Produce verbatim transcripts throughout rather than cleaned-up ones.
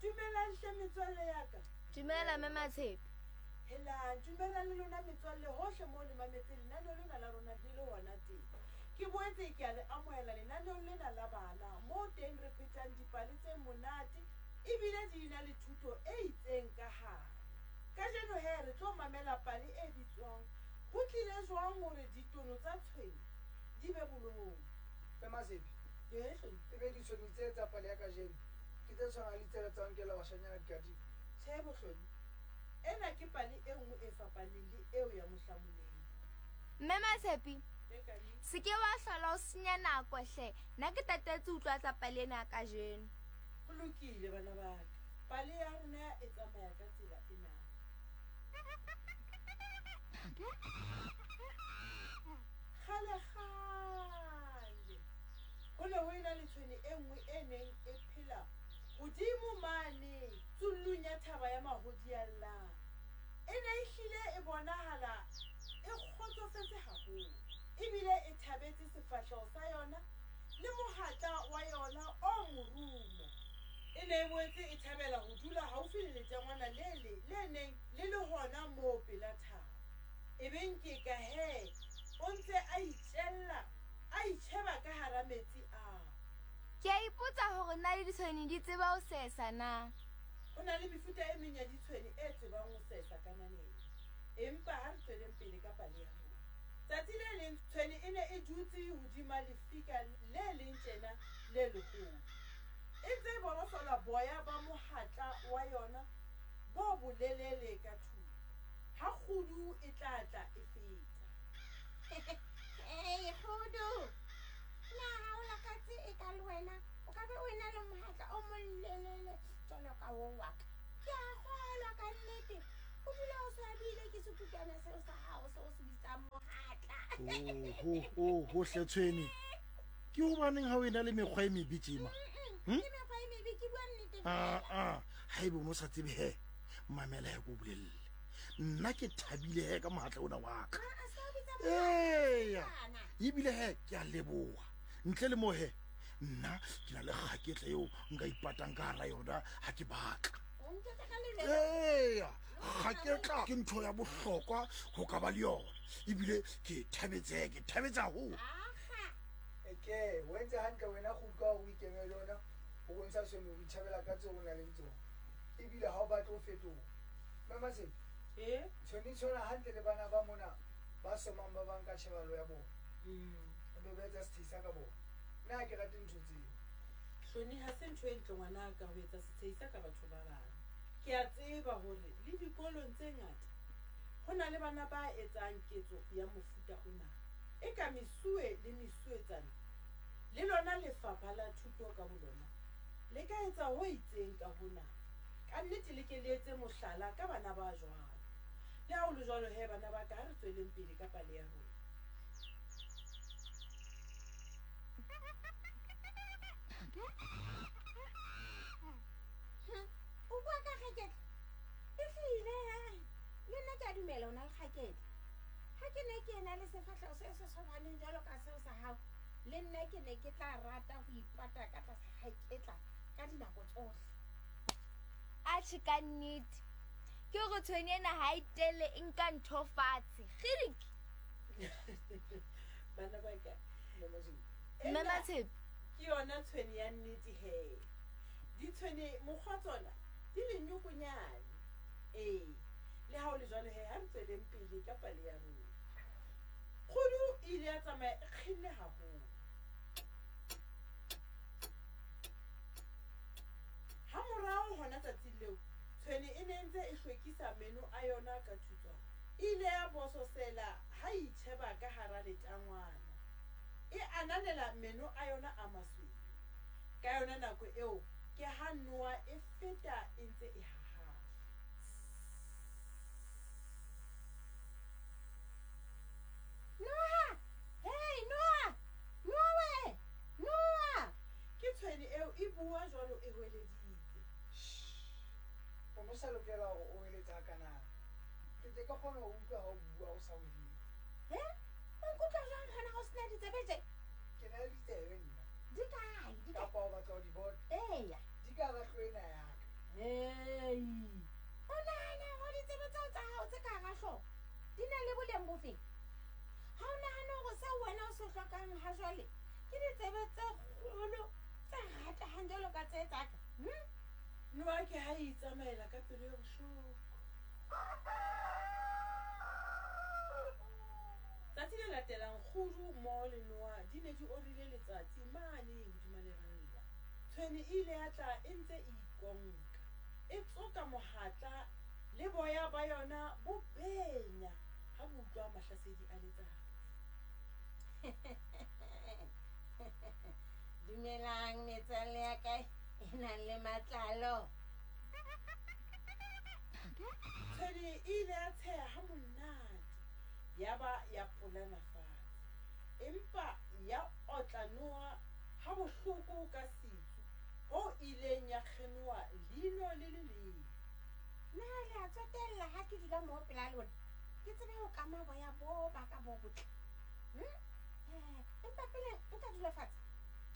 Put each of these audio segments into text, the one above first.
Dumelang hle metswalle ya ka. Dumela Mme Matshepe. Helang, dumelang le lona metswalle hohle moo le mametse lenaneo lena la rona le le hona teng. Ke boetse ke a le amohela lenaneong lena la bana moo teng re phetang dipale tse monate ebile di na le thuto e itseng ka hare. Kajeno he re tlo mamela pale e bitswang Ho tlile jwang hore ditono tsa tshwene di be bolou. Mme Matshepe, Ee, Hloni. ebe ditshwene tse tsa pale ya kajeno ke tse tshwanang le tsela tsa ho nkela bashanyana dikadimo? Tjhe, Bohloni. Ena ke pale e nngwe e fapaneng le eo ya mohlamoleng. Mme Matshepe, E kane. se ke wa hlola o senya nako hle. Nna ke tatetse ho utlwa tsa pale ena ya kajeno. Ho lokile bana ba ka. Pale ya rona e tsamaya ka tsela ena. Kgale kgale ho ne ho ena le tshwene e nngwe e neng e phela hodimo mane tsullung ya thaba ya Mahodiallang. E ne e hlile e bonahala e kgotsofetse haholo ebile e thabetse sefahleho sa yona le mohatla wa yona o morumo. E ne e boetse e thabela ho dula haufi le letangwana le le le neng le le hona moo pela thaba. E beng ke ka he o ntse a itjella, a itjheba ka hara metsi ao. Ke a ipotsa hore na le ditshwene di tseba ho sesa na. Ho na le mefuta e meng ya ditshwene e tsebang ho sesa ka naneng. Empa ha re tsweleng pele ka pale ya rona. Tsatsi le leng tshwene e ne e dutse hodima lefika le leng tjena le leholo. E ntse e borosola boya ba mohatla wa yona bo bolelele ka thupa. Ha kgudu e tla tla e feta. Hey, kgudu. Na ha o lakatse e ka le wena o ka be o ena le mohatla o molelele jwalo ka o wa ka. Ke a kgolwa ka nnete. O dula o swabile ke sekutwana seo sa hao seo o se bitsang mohatla. Oh, oh, oh, hle tshwene. Ke hobaneng ha o ena le mekgwa e mebe tjena? Mm-mm, Ke mekgwa e mebe, ke bua nnete Ah, fela. ah, haebe o no sa tsebe he, mamela he ko bolelle. Nna ke thabile he ka mohatla ona wa ka. Ah, ah, se o bitsa Eya, mohatla. ebile he ke a leboha. Ntle le moo he, nna ke na le kgaketla eo nka ipatang ka hara yona ha ke batla. O ntjwetsa ka leleme. Eya, kgaketla ke ntho ya bohlokwa ho ka ba le yona. Ebile ke thabetse he, ke thabetse haholo. Akga. Eke, o entse hantle wena kgudu ka hore o ikemele le yona ho bontsha tshwene ho itjhabela ka tseo o nang le tsona. Ebile ha o batle ho fetoha. Mme Matshepe, Eh? tshwene e tshwana hantle le bana ba mona ba somang ba bang ka tjhebalo ya bona. Mm. Ebe ba etsa setshehisa ka bona. Nna ha ke rate ntho tseo. Hloni, ha se ntho e ntle ngwanaka ho etsa setshehisa ka batho ba bang. Ke a tseba hore le dikolong tse ngata ho na le bana ba etsang ketso ya mofuta ona. E ka mesuwe le mesuwetsana le lona lefapha la thuto ka bolona le ka etsa ho itseng ka hona. Ka nnete le ke le etse mohlala ka bana ba jwalo. Le ha ho le jwalo he bana ba ka, ha re tsweleng pele ka pale ya rona. Hm, o bua ka kgaketla? Ehlile, ha. Le nna ke a dumela o na le kgaketla. Ha ke ne ke ena le sefahleho se se tshwaneng jwalo ka seo sa hao, le nna ke ne ke tla rata ho ipata ka tlasa kgaketla ka dinako tsohle. Atjhe ka nnete. Ke hore tshwene ena ha e tele e nka ntho fatshe. Kgidik. Bana ba ka. Mme Matshepe. Mme Ena Matshepe. ke yona tshwene ya nnete he. Ditshwene mokgwa tsona di lenyokonyane. Ee, le ha ho le jwalo he, ha re tsweleng pele ka pale ya rona. Kgudu e ile ya tsamaya e kgenne haholo. Ha morao hona tsatsing leo, tshwene e ne ntse e hlwekisa meno a yona ka thutswana. E ile ya bososela ha e itjheba ka hara letangwana. E ananela meno a yona a masweu. Ka yona nako eo ke ha noha e feta e ntse e hahaha. Noha! Hey, noha! Noha we! Noha! Ke tshwene eo e bua jwalo e hweleditse. Shh. O no sa lokela hore o hweletse hakana. Ke tle ke kgone ho utlwa ha o bua o sa hweletse. He? O nkutlwa jwang hona ha o sena ditsebe tje? Ke na le ditsebe nna. Di kae? Di kae? Kapa o batla ho di bona? Eya. Di ka hara hlooho ena ya ka. Hei, o nahana hore ditsebe tseo tsa hao tse ka hara hlooho di na le boleng bofeng? Ha o nahane hore seo wena o se hlokang ha jwale ke ditsebe tse kgolo tse ratehang jwalo ka tse tsa ka? Hmm? Noa ke ha e itsamaela ka pelo e bohloko. Tsatsi le latelang kgudu mmoho le noa di ne di orile letsatsi mane hodima leralla. Tshwene e ile ya tla e ntse e ikonka, e tsoka mohatla le boya ba yona bo benya ha bo utlwa mahlasedi a letsatsi. Dumelang metswalle ya ka e nang le matlalo. Tshwene e ile ya tsheha ha monate, ya ba ya polana fatshe, empa ya otla noa ha bohloko ka setsu ho ileng ya kgenoa leino le le leng. Na le a tsotella ha ke dula moo pela lona, ke tsebe ho kama boya bo ba ka bo botle? Hmm? Eh, empa pele nka dula fatshe,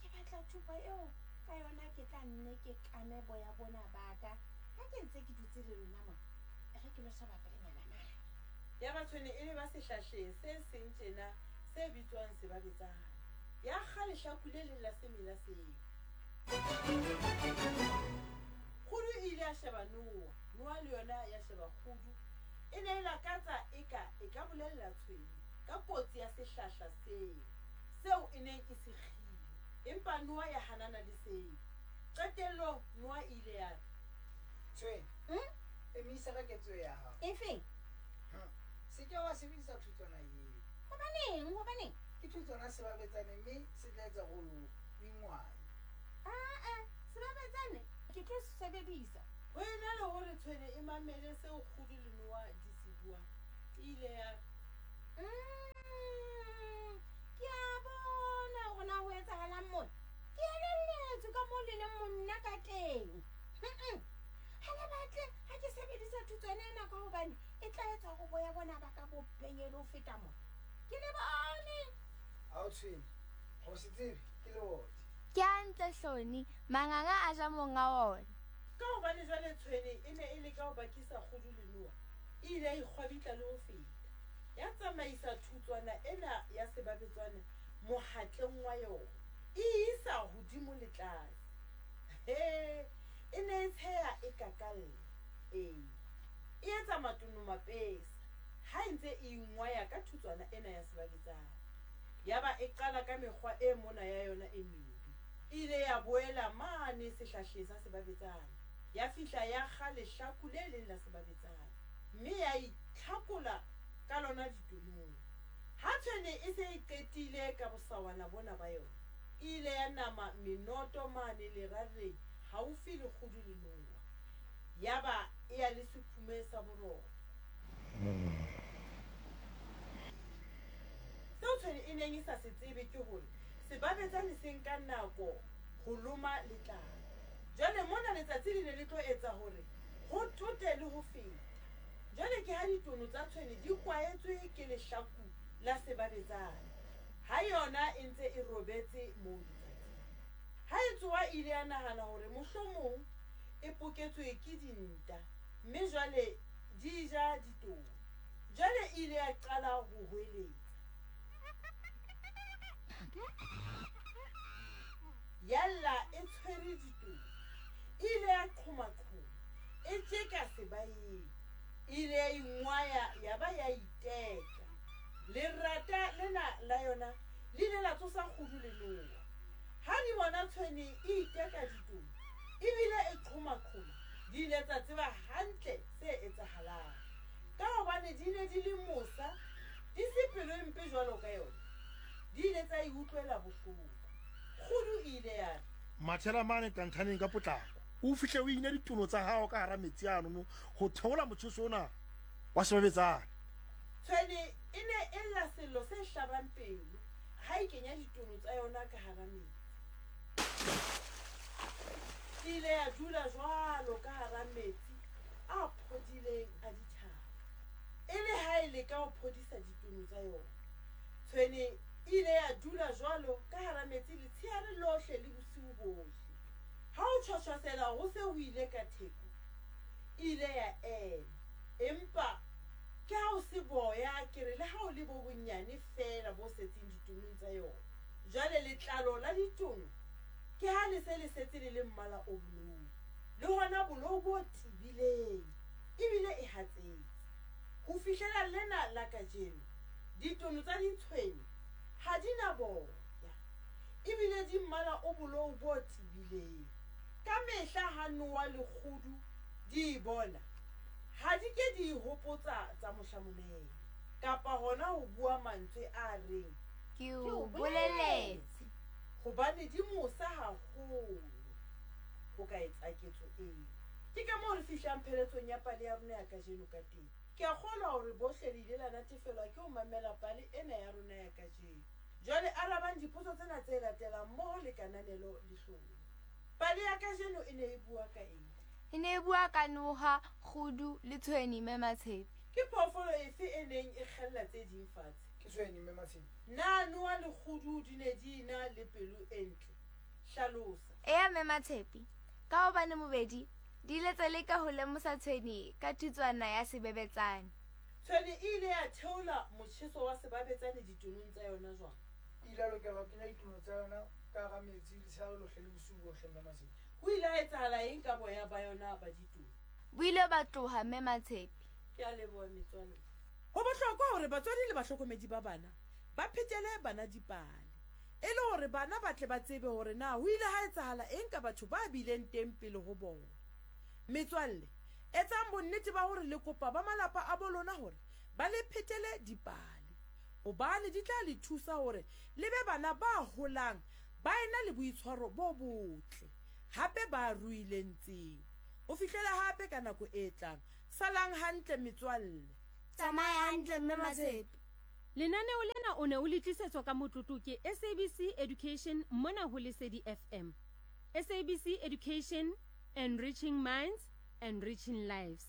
ke batla thupa eo ka yona ke tla nne ke kame boya bona ba ka ha ke ntse ke dutse le lona mona. E re ke lo sheba pelenyana mane. Ya ba tshwene e le ba sehlahleng se seng tjena se bitswang sebabetsane. Ya kga lehlaku le leng la semela seo. Kgudu e ile ya sheba noa, noa le yona ya sheba kgudu. E ne e lakatsa eka e ka bolella tshwene ka kotsi ya sehlahla seo, seo e neng e se kgile. Empa noa ya hanana le seo. Qetellong noa e ile ya re, Tshwene, Hmm? emisa ka ketso ya hao. Efeng? Se ke wa sebedisa thutswana eo. Hobaneng? Hobaneng? Ke thutswana sebabetsane mme se tla etsa hore o ingwae. Ah-ah, sebabetsane ke tlo se sebedisa. Ho ena le hore tshwene e mamele seo kgudu le noa di se buang, e ile ya re, Mm, ke a bona hore na ho etsahalang mona. Ke elelletswe ka moo le leng monna ka teng. Mm-mm. Ha le batle ha ke sebedisa thutswana ena ka hobane e tla etsa hore boya bona ba ka bo benye le ho feta mona. Ke le bone. Ha o tshwene, ho se tsebe ke leote. Ke hantle Hloni, manganga a ja monga ona. Ka hobane jwale tshwene e ne e leka ho bakisa kgudu le noa, e ile ya ikgwabitla le ho feta. Ya tsamaisa thutswana ena ya sebabetswana mohatleng wa yona, e isa hodimo le tlase. He, e ne e tsheha e kakalla. Ee, e etsa matono mapesa ha e ntse e ingwaya ka thutswana ena ya sebabetsana. Ya ba e qala ka mekgwa e mona ya yona e mebe. E ile ya boela mane sehlahleng sa sebabetsana. Ya fihla ya kga lehlaku le leng la sebabetsana, mme ya itlhakola ka lona ditonong. Ha tshwene e se e qetile ka bosawana bona ba yona, e ile ya nama menoto mane lerareng haufi le kgudu le noa. Ya ba e ya le sephume sa boroko. Seo tshwene e neng e sa se tsebe ke hore sebabetsane se nka nako ho loma letlalo. Jwale mona letsatsi le ne le tlo etsa hore ho tote le ho feta. Jwale ke ha ditono tsa tshwene di kwaetswe ke lehlaku la sebabetsane, ha yona e ntse e robetse moo letsatsing. Ha e tsoha e ile ya nahana hore mohlomong e poketswe ke dinta, mme jwale di ja ditono. Jwale e ile ya qala ho hweletsa. Ya lla e tshwere ditono. E ile ya qhomaqhoma, e tjeka sebaeng. E ile ya ingwaya ya ba ya iteka. Lerata lena la yona le ile la tsosa kgudu le noa. Ha di bona tshwene e iteka ditono, ebile e qhomaqhoma, di ile tsa tseba hantle se etsahalang. Ka hobane di ne di le mosa, di se pelo e mpe jwalo ka yona, di ile tsa e utlwela bohloko. Kgudu e ile ya re, Mathela mane qanthaneng ka potlako, o fihle o ine ditono tsa hao ka hara metsi ano ho theola motjheso ona wa sebabetsane. Tshwene e ne e lla sello se hlabang pelo ha e kenya ditono tsa yona ka hara metsi. E ile ya dula jwalo ka hara metsi a phodileng a dithaba, e le ha e leka ho phodisa ditono tsa yona. Tshwene e ile ya dula jwalo ka hara metsi letsheare lohle le bosiu bohle. Ha ho tjhotjhosela ho se ho ile ka theko, e ile ya ema. Empa ke ha o se boya ke re le ha o le bo bonyane feela bo setseng ditonong tsa yona. Jwale letlalo la ditono ke ha le se le setse le le mmala o bolou. Le hona bolou bo tebileng ebile e hatsetse. Ho fihlela lena la kajeno, ditono tsa ditshwene ha di na boya ebile di mmala o bolou bo tebileng. Ka mehla ha nowa le kgudu di e bona, ha di ke di hopotsa tsa mohlamonene kapa hona ho bua mantswe a reng Ke o boleletse. Hobane di mosa haholo ho ka etsa ketso eo. Ke ka moo re fihlang pheletsong ya pale ya rona ya kajeno ka teng. Ke a kgolwa hore bohle le ile la natefelwa ke ho mamela pale ena ya rona ya kajeno. Jwale arabang dipotso tsena tse latelang mmoho le kananelo le hlolo. Pale ya kajeno e ne e bua ka eng? E ne e bua ka noha, kgudu le tshwene mme Matshepe. Ke phoofolo efe e neng e kgella tse ding fatshe? Ke tshwene mme Matshepe. Na noha le kgudu di ne di na le pelo e ntle? Hlalosa. Eya mme Matshepe, ka hobane bobedi di ile tsa leka ho lemosa tshwene ka thutswana ya sebebetsane. Tshwene e ile ya theola motjheso wa sebabetsane ditonong tsa yona jwang? E ile ya lokela ho kenya ditono tsa yona ka hara metsi letshehare lohle le bosiu bohle mme Matshepe. Ho ile ha etsahala eng ka boya ba yona ba ditono? Bo ile ba tloha mme Matshepe. Ke a leboha metswalle. Ho bohlokwa hore batswadi le bahlokomedi ba bana ba phetele bana dipale e le hore bana ba tle ba tsebe hore na ho ile ha etsahala eng ka batho ba bileng teng pele ho bona. Metswalle, etsang bonnete ba hore le kopa ba malapa a bo lona hore ba le phetele dipale, hobane di tla le thusa hore le be bana ba holang ba ena le boitshwaro bo botle, hape ba ruileng tsebo. Ho fihlela hape ka nako e tlang. Salang hantle metswalle. Tsamaya hantle mme Matshepe. Lenaneo lena o ne o le tlisetswa ka motlotlo ke S A B C Education mona ho Lesedi F M. S A B C Education, enriching minds, enriching lives.